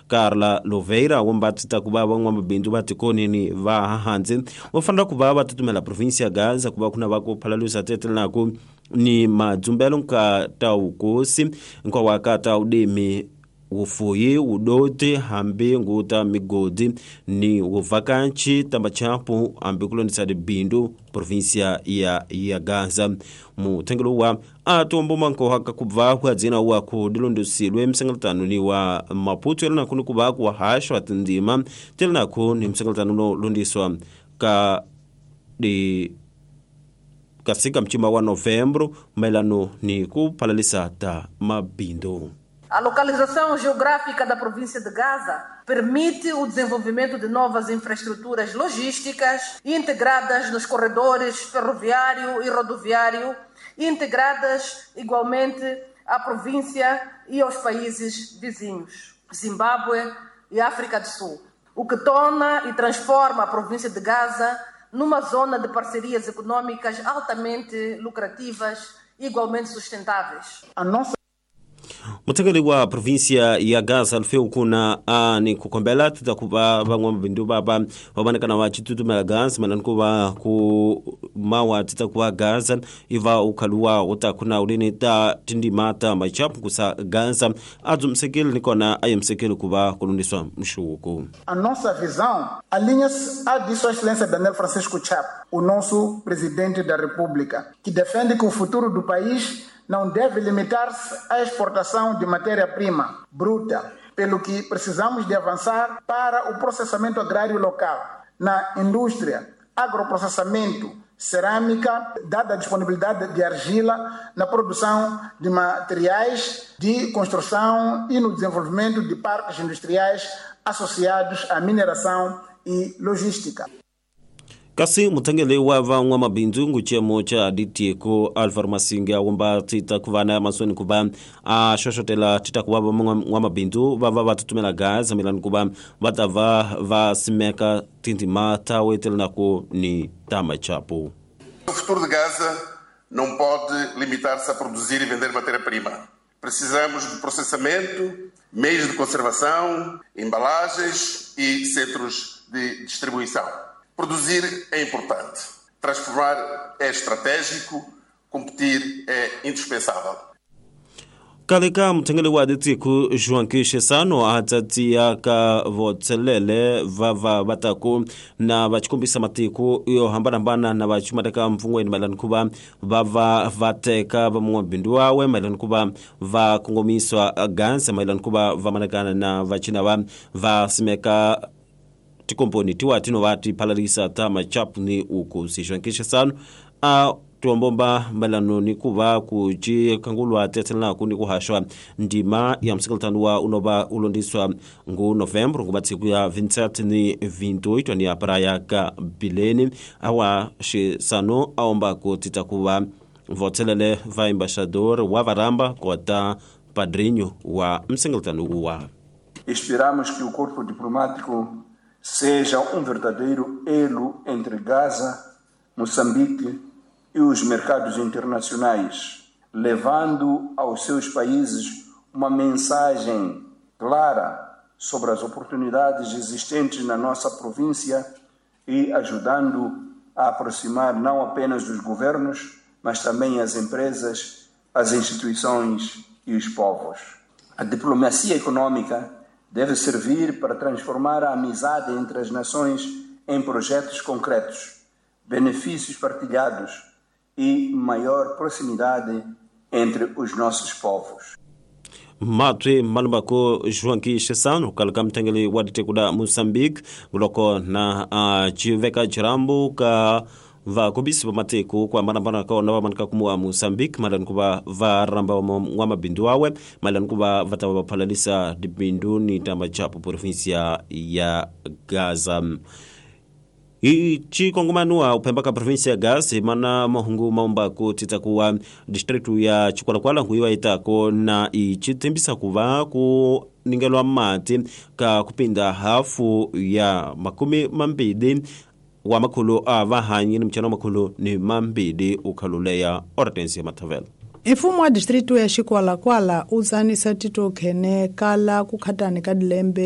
Carla Loveira womba tita ku va van'wamabindzu va tikonini va hahandzi va fanela ku va va tutumela provinsi ya Gaza ku va ku na va ku phalalusa tetelanaku ni madzumbelo nka ta wukosi nkwawa ka ta udimi wufuyi wudoti hambi nguta migodi ni wuvhakanchi tambachapu hambi kulondisa dibindu provinsia ya Gaza. Muthengelo wa atomboma nkohaka kubva kwa dzina wa kudilondosilwe msengeletano ni wa Maputo elanaku ni kuva kuwahashwa tindima telanaku ni msengeletano no londiswa ka di kasika mchima wa novembro maelano ni kuphalalisa ta mabindu. A localização geográfica da província de Gaza permite o desenvolvimento de novas infraestruturas logísticas integradas nos corredores ferroviário e rodoviário, integradas igualmente à província e aos países vizinhos, Zimbábue e África do Sul, o que torna e transforma a província de Gaza numa zona de parcerias econômicas altamente lucrativas e igualmente sustentáveis. A nossa Muthekeli wa provinsia ya Gaza alfeu kuna ni kukombela tita kuva van'wamabindzu vava va vonakana va citutumela Gaza malani ku va ku mawa tita kuva Gaza iva ukhaluwa wu ta kuna ulini ta tindima ta machapu kusa Gaza a dzumisekile ni kona a yemisekile ku va ku lundiswa mxuku. A nossa visão alinha-se à de Sua Excelência Daniel Francisco Chapo, o nosso presidente da República, que defende que o futuro do país não deve limitar-se à exportação de matéria-prima bruta, pelo que precisamos de avançar para o processamento agrário local, na indústria, agroprocessamento, cerâmica, dada a disponibilidade de argila na produção de materiais de construção e no desenvolvimento de parques industriais associados à mineração e logística. Kasi muthengeli wa van'wamabindzu ngucemo cha ditiko Alvaro Masinga womba tita ku va na matsweni ku va a xoxotela tita ku va van'wamabindzu va va va tutumela Gaza milani ku va va ta va va simeka tindima ta wetelanaku ni ta machapu. O futuro de Gaza não pode limitar-se a produzir e vender matéria-prima. Precisamos de processamento, meios de conservação, embalagens e centros de distribuição. Produzir é importante, transformar é estratégico, competir é indispensável. Kaleka muthengeli wa ditiko João Chissano a tsatsiya ka votselele va va taku na va xikombisa matiko yo hambanahambana na va xumateka mpfungweni mayelana ku va va va va teka van'wamabindzu wawe mayelana ku va va kongomiswa Gaza mayelana ku va va manakana na va china va va simeka tikomponi tiwa tino va ti phalalisa ta machapu ni ukosi. João Chissano a tuombomba mayelano ni ku va ku cikangulwa tetelanaku ni ku haxwa ndima ya msekeltano wa unova ulondiswa ngu novembro nguva tsiku ya 27 ni 28 ni ya praia ka Bilene awa Chissano aomba ku tita ku va votselele va embaixador wa varamba kota padrinho wa msekeltano wa. Esperamos que o corpo diplomático seja verdadeiro elo entre Gaza, Moçambique e os mercados internacionais, levando aos seus países uma mensagem clara sobre as oportunidades existentes na nossa província e ajudando a aproximar não apenas os governos, mas também as empresas, as instituições e os povos. A diplomacia econômica deve servir para transformar a amizade entre as nações em projetos concretos, benefícios partilhados e maior proximidade entre os nossos povos. Matwe malumbako João Chissano kalaka mthengeli wa ditekuda Moçambique loko na chiveka chirambu ka vakobisi va matiko ku hambanahambana ka wona va manika kumuwa Moçambique mayelana ku va va ramba n'wamabindzu wawe mayelana ku va va ta va va phalalisa tibindzu ni ta machapu provinsia ya Gaza. I cikongomano uphemba ka provinsia ya Gaza mana mahungu maombaku tita kuwa distritu ya Chikwalakwala nkuiwa itako na icitembisa kuva ku ningelwa mati ka kupinda hafu ya 20 wa makhulu a vahanyi ni mchana 22 ukhaluleya Hortensia Matavela. Mfumo wa distritu ya Chikwalakwala u tsanisa titokhene kala ku khatani ka dilembe.